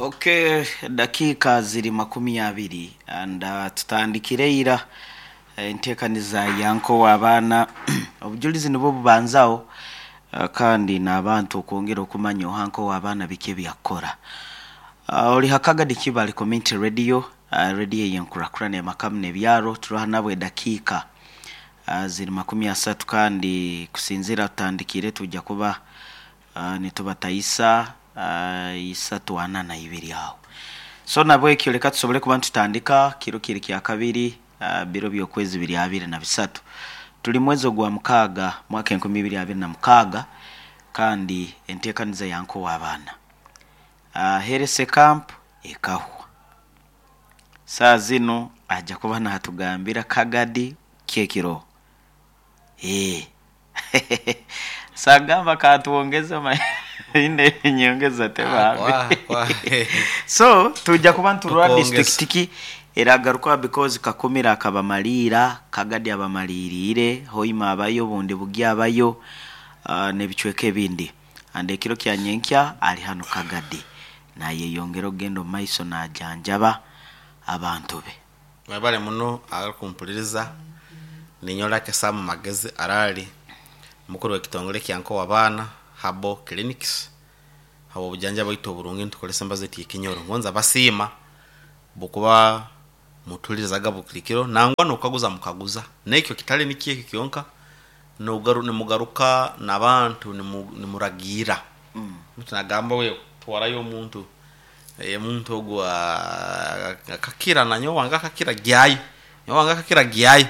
Okay, dakiika ziri 20 and tutandikire ira enteekaniza ya nkowa abaana. Obujulizi nibwo bubanzaho, kandi n'abantu okwongera okumanya oha nkowa abaana biki ebyakukora. Oli Hakagadi Kibale Community Radio, radio ey'enkurakurana emakamu n'ebyaro. Turoha nabo edakiika ziri 30, kandi kusinziira tutandikire twija kuba nitubatayisa 3:42 aho. So nabwekyo leka tusobole kuba nitutandika. Kiro kiri kyakabiri, biro by'okwezi biri 23, tuli mwezi ogwa 6, mwaka 2026, kandi enteekaniza ya nkowa abaana, Herese Camp ekahwa. Saaha zinu aja kuba natugambira Kagadi kyekiroho. Sagamba katwongeze ine enyongeza tebambi. So tuja kuba niturora Tukongeza. district ki eragarukaho, because Kakumira akabamaliira, Kagadi abamaliriire, Hoima abayo, obundi Bugya abayo, n'ebicweka ebindi. And ekiro kya nyenkya ali hanu Kagadi nayeyongera okugenda omu maiso najanjaba abantu be. Mwebale muno abakumpuliriza. Ninyowe Lucky Sam Magezi Arali, mukuru w'ekitongole kya Nkowa Abaana Herbal Clinics. Habw'obujanjabi bwaitu oburungi nitukozesa embazo yaitu ey'ekinyoro. Ngonza basiima bukuba mutuhulirizaga buli kiro, nangwa n'okukaguza mukaguza. N'ekyo kitali nikyo ekyo kyonka, nimugaruka n'abantu nimuragiira. Omuntu nagamba wewe twarayo omuntu, omuntu ogu akakira, nanyowe wange akakira gyayo, nyowe wange akakira gyayo.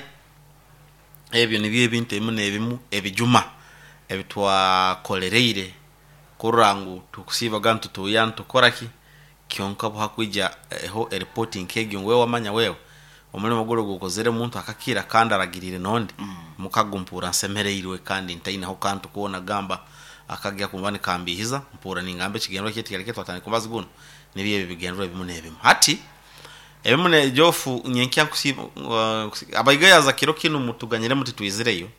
Ebyo nibyo ebintu ebimu n'ebimu ebijuma ebitwakolereire kurora ngu tukusiibaga nitutuuya nitukora ki, kyonka obu hakwija eho eripooti nk'egyo ngu wewe wamanya wewe omulimo guri ogu okozere omuntu akakira kandi aragiriire n'ondi, mukago mpurra nsemereirwe kandi ntaineho kantu koona gamba akagya kuba nikambiihiza. Mpurra ningamba ekigendererwa kyaitu kyali twatandika omubazi gunu, nibyo ebi ebigendererwa ebimu n'ebimu. Hati ebimu nejofu nyenkya nkusiiba abaigayaza kiro kinu mutuganyire muti twizireyo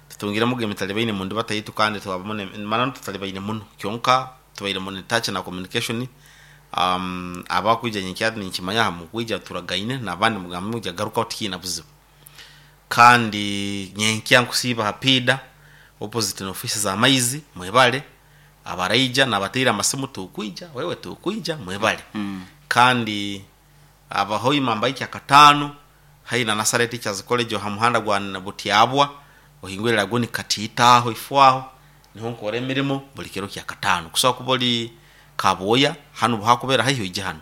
tutungiremu emitalibaine mundibata yaitu, kandi twabamu mananu tutalibaine muno, kyonka tubaire mu touch na communication. Abakwija nyenkya ninkimanya hamukwija turagaine, n'abandi mugambe mwija garukaho tikiina buzibu. Kandi nyenkya nkusiiba ha piida opposite n'ofiisi za maizi. Mwebale abaraija nabateire amasimu, tukwija wewe tukwija, mwebale. Kandi abahoima mbaikya akataano haihi na Nasare Teachers College aha muhanda gwa Butyabwa, ohingwire Lagoni Katiita aho ifo aho niho nkora emirimo buli kiro kya kataano. Kusobola kuba ori Kabwoya hanu buhakubera haihi oije hanu,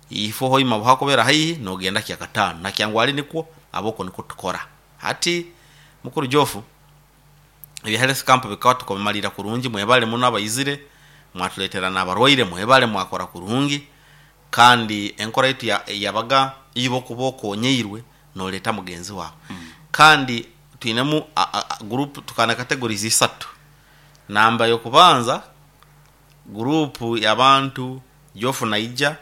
ifo Hoima buhakubera haihi nogenda kya kataano, na Kyangwali nikwo aboko nikwo tukora. Hati mukuru Jofu, ebya health camp bikaba tukabimalira kurungi. Mwebale muno abaizire mwatuletera n'abarwaire, mwebale mwakora kurungi. Kandi enkora yaitu yabaga iwe okuba okonyeirwe noleeta mugenzi wawe. Kandi twinemu group tukaba na categories isatu. Namba y'okubanza, gurupu y'abantu Jofu naija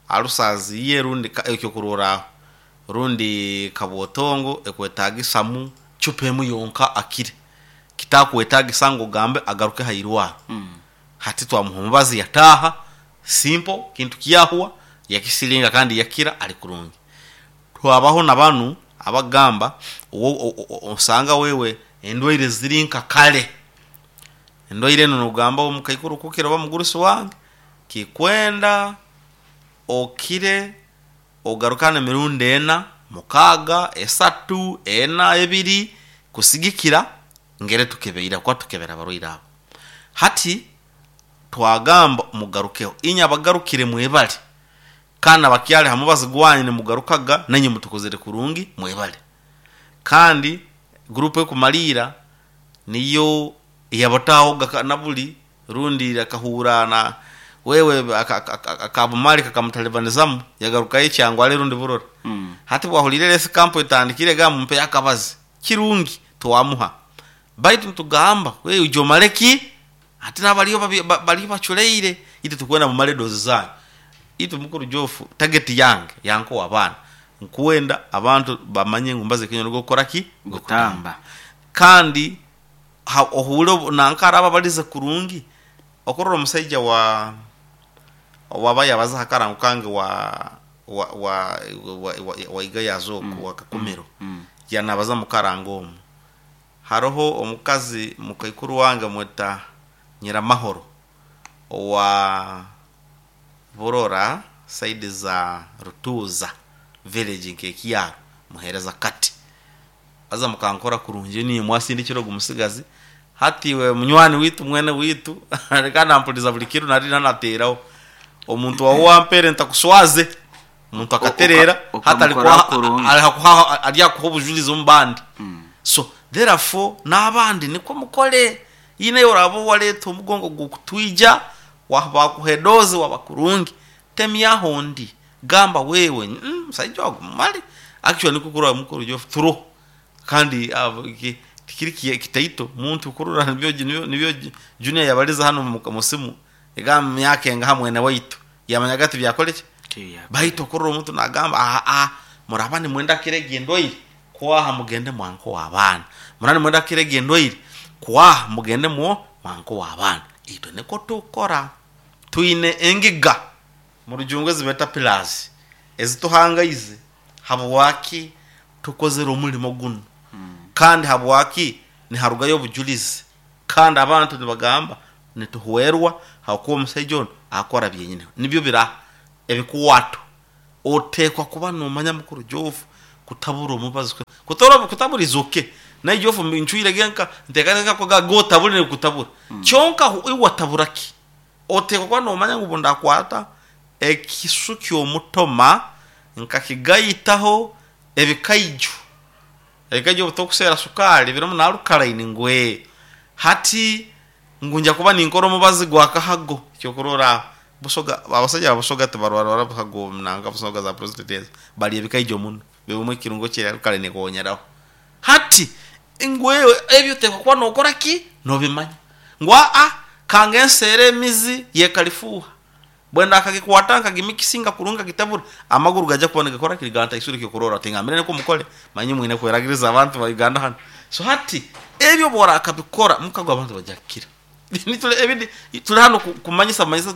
alusazi ye rundi ekyokurorraho rundi kabwotongo ekwetagisamu cupa emu yonka akire, kitakwetagisa ngu ogambe agaruke ha irwaro. Hati twamuha omubazi yataaha, simple, kintu kyahwa, yakisiringa kandi yakira ali kurungi. Twabaho na banu abagamba osanga wewe endwaire ziri nka kale, endwaire enu nogamba omukaikuru kukira oba mugurusi wange kikwenda okire ogarukane emirundi ena, 6, 3, 4, 2, kusigikira ngeri tukebeire kuba tukebera abarwaire abo. Hati twagamba mugarukeho, inye abagarukire mwebale, kandi abakyali ha mubazi gwanyu nimugarukaga nainye mutukozere kurungi, mwebale. Kandi gurupu ekumaliira niyo eyabatahoga na buli rundi akahuura na wewe akabumali kakamutalibanizamu yagarukayo ekyangwali rundi burora. Hati bwahulire health camp etandikire gamba mumpeyo akabazi kirungi, twamuha. Baitu nitugamba wewe ija omale ki? Hati n'abaliyo baliyo baculeire, itwe tukwenda mumale edozi zanyu. Itwe mukuru Jofu, target yange yankowa abaana, nkwenda abantu bamanye ngu mbaza ekinyonyi gokukora ki? Gutamba. Kandi ohuure nanka araba abalize kurungi, okurora omusaija wa. Owaba yabaza hakarango kange wa wa wa wa, wa, wa igayazo oku wa Kakumiro, yanabaza mukarango omu. Haroho omukazi mukaikuru wange mweta Nyiramahoro owa Burora, side za Rutuuza village, nkekyaro muhereza kati aza mukankora kurungi niye mwasindikira ogu musigazi. Hati we munywani witu, mwene witu, reka nampuliza buli kiro nari nanateraho omuntu wawe wampere ntakuswaze omuntu akaterera. Ukamukora hati kurungi. Aryakuha obujulizi omu bandi. So therefore n'abandi nikwo mukole yine oraba waleeta omugongo gukutwija bakuha edozi waba kurungi temyaho ndi gamba wewe, musaija ogu mumale actually nikwo kurora mukuru jo turo kandi tikiri kitaito muntu kurora nibyo junior yabaliza hano musimu egamba myaka engaha mwene waitu yamanyaga ati byakoleki. Baitu okurora omuntu nagamba aa muraba nimwenda kirega endwaire kwaha mugende mwanko w'abaana, muraba nimwenda kirega endwaire kwaha mugende mwo mwanko w'abaana. Itwe niko tukora twine engiga mu rujungu ezibeta pillars ezituhangaize habwaki tukozere omulimo guno kandi habwaki niharugayo obujulizi kandi abantu nibagamba nituhwerwa hakuba omusaija onu akora byenyine nibyo bira ebikwato. Otekwa kuba nomanya mukuru jofu kutabura omubazi kutabura izoke naye jofu ncwire genka ntekateka ko gotabura nikutabura kyonka iwe watabura ki. Otekwa kuba nomanya ngu bundakwata ekisu ky'omutoma nkakigayitaho ebikaiju obutokusera sukali birimu nalukalaini ngwe hati ngu nja kuba ninkora omubazi gwa kahago kyokurora busoga abasajja babusoga tibarwara buhago nanga busoga za prostate ezo bali ebikaiju muno bibumwe ekirungo kye alkaline konyeraho hati ngwewe ebyo tekwa kuba nokora ki nobimanya ngu aa kange nsere emizi yekalifuha bwenda akagikwata nkagimikisinga kurunga kitabura amaguru gaja kuba nigakora kiriganta isuri kyokurora tingambire niko mukole manyi mwine kweragiriza abantu ba Uganda hano. So hati ebyo bora akabikora mukago abantu bajakira. Ebindi tuli hano kumanyisa manyisa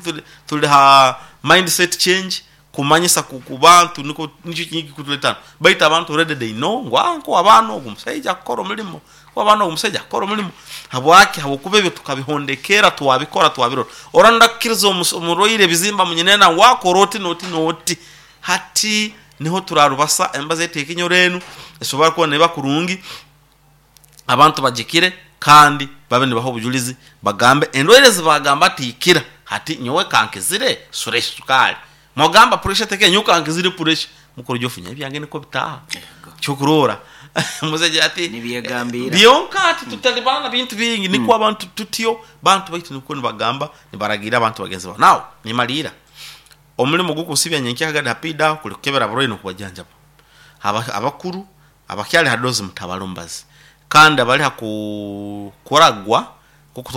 tuli ha mindset change kumanyisa ku bantu niko nicho kingi kutuletana baita abantu already they know ngu anko abantu ogu musajja akora omulimo ko abantu ogu musajja akora omulimo habwaki habwokuba ebyo tukabihondekera twabikora twabirora oranda kukiriza omurwaire ebizimba munyinena wakora oti noti noti hati niho turarubasa embaza eteeka enyoro enu esobora kuba neba kurungi abantu bagikire kandi babe nibaha obujulizi bagambe endwaire zibagamba tikira hati nyowe kankizire sura sukari mwagamba pressure teke nyowe kankizire pressure mukuru jofunya ebyange niko bitaha kyokurora muzeje ati Nibyegambira. Byonka ati tutalibana bintu bingi niko abantu tutyo bantu baitu niko nibagamba nibaragira abantu bagenzi babo nawe nimalira omulimu gukusibya nyenkya gadi hapida kuli kukebera abarwaire nokubajanjaba abakuru abakyali hadozi mutabalumbazi kandi abali hakukuragwa kuko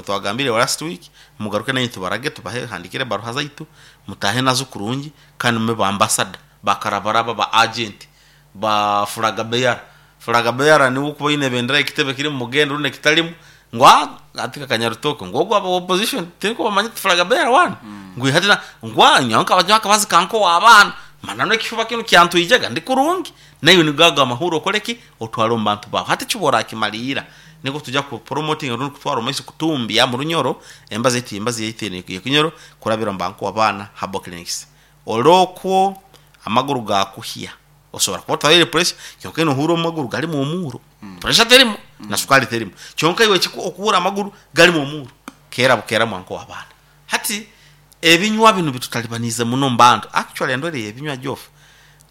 twagambire last week mugaruke nanyu tubarage tubahe handikire baruha zaitu mutahe nazo kurungi kandi mube ba ambassador bakarabaraba ba agent ba furagabeyara furagabeyara niwo kuba ine bendera ekitebe kiri mu mugendo rune kitalimu ngwa atika kanyarutoke ngo gwa aba opposition tinko bamanye furagabeyara wana ngo hatina ngwa nyanka bajaka bazi kanko wabana manano ekifuba kino kyantwijaga ndi kurungi nayo nigaga amahuro okoleki otwale omu bantu bawe hati kibora akimalira niko tujya ku promoting rundi kutwara omaiso kutumbya mu runyoro embazi eti embazi yaite yekinyoro kurabira mu banku abaana habo clinics olokwo amaguru gakuhya osobora kuba otwaire pressure kyonka ino ohura omumaguru galimu omuuro pressure terimu na sukari terimu kyonka iwe okuhura amaguru galimu omuuro kera bukera mwanko w'abaana hati ebinywa bino bitutalibanize muno mbantu actually endwere yebinywa jofu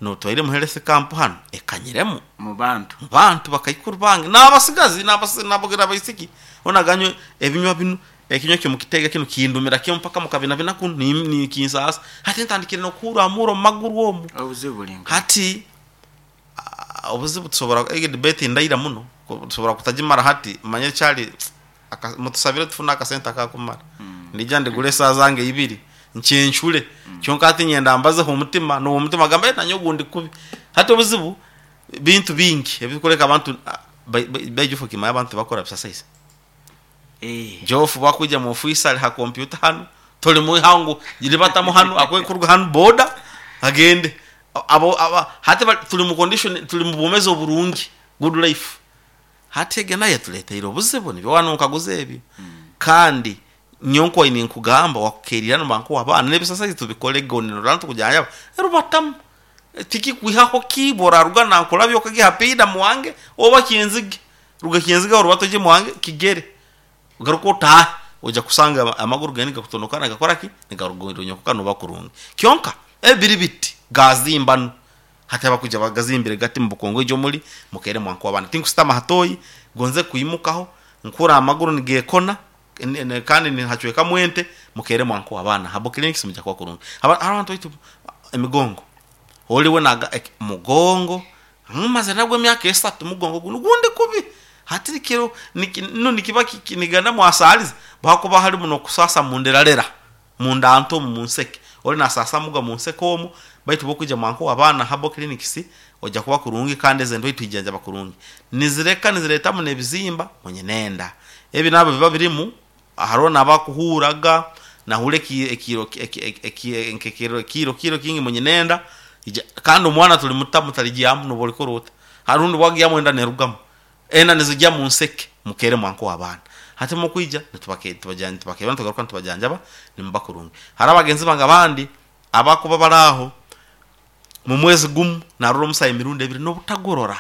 notwaire mu health camp hano ekanyiremu mu bantu mu bantu bakaikuru bange n'abasigazi n'abaisiki onaganywe ebinywa bino ekinywa kyo mukitega kino kindumira kyo mpaka mukabina kuno ni kinsasa hati ntandikire nokuhura amuro mu maguru omu obuzibu bulinga hati obuzibu tusobora ege debate ndaira muno tusobora kutagimara hati manye kyali mutusabire tufune akasente akakumara ndija ndigure esaha zange ibiri nkyencure kyonka hati nyenda mbazeho omutima n'owo omutima gamba nanye ogundi kubi hati obuzibu bintu bingi ebikureka abantu baijufu kimaya abantu bakora exercise jofu bakuja mu ofisi ali ha computer hano. Toli mwihaho ngu ribatamu hanu akwekuruga hanu boda agende. Abo aba hati tuli mu condition, tuli mu bwomezi oburungi, good life. Hati egi nayo etuleteire obuzibu, nibyo waba nonkaguza ebyo. Kandi nyowe nkubaire ninkugamba wakukerire hanu abaana n'ebisasaizi tubikole gonirora tukujanjaba rubatamu tikikwihaho ki bworaruga nankulabye okagya ha piida mwange oba Kyenzige, ruga Kyenzige aho orubate oije mwange kigere ogaruke otaahe, oija kusanga amaguru gawe nigakutonokana nigakora ki, nigaruga noba kurungi. Kyonka ebi biri biti gazimba nu hati abakwija bagazimbire gati mubukongo ijo muli mukeere mwankuha abaana. Tinkusitama ha toyi gonze kwimukaho nkuura amaguru nigekona kandi nihacwekamu ente mukeere mwankuha abaana Herbal Clinics mwija kuba kurungi. Hariho abantu baitu emigongo, oli we mugongo mazire nagwo emyaka 3, mugongo gunu gundi kubi. Hati kiro nu nikiba nigenda mwasaliza hakuba harimu nokusasa munderarera mundanto omu munseke oli nasasamuga munseke omu, baitu bwokuija mwankuha abaana Herbal Clinics oija kuba kurungi kandi ezi endwaire twijanjaba kurungi. Nizireka niziretamu n'ebizimba munyinenda. Ebi nabyo biba birimu, hariho nabakuhuuraga nahuura ekiro kiro kingi munyinenda kandi omwana tulimutamu taligyamu nobu olikora ota. Harundi bwagyamu enda nerugamu. Enda nizigya munseke mukeere mwankuha abaana. Hati mukwija nitubakebera nitugaruka nitubajanjaba nimuba kurungi. Hariho abagenzi bange abandi abakuba bari aho, mu mwezi gumu narora omusaho emirundi ebiri nobutagurora.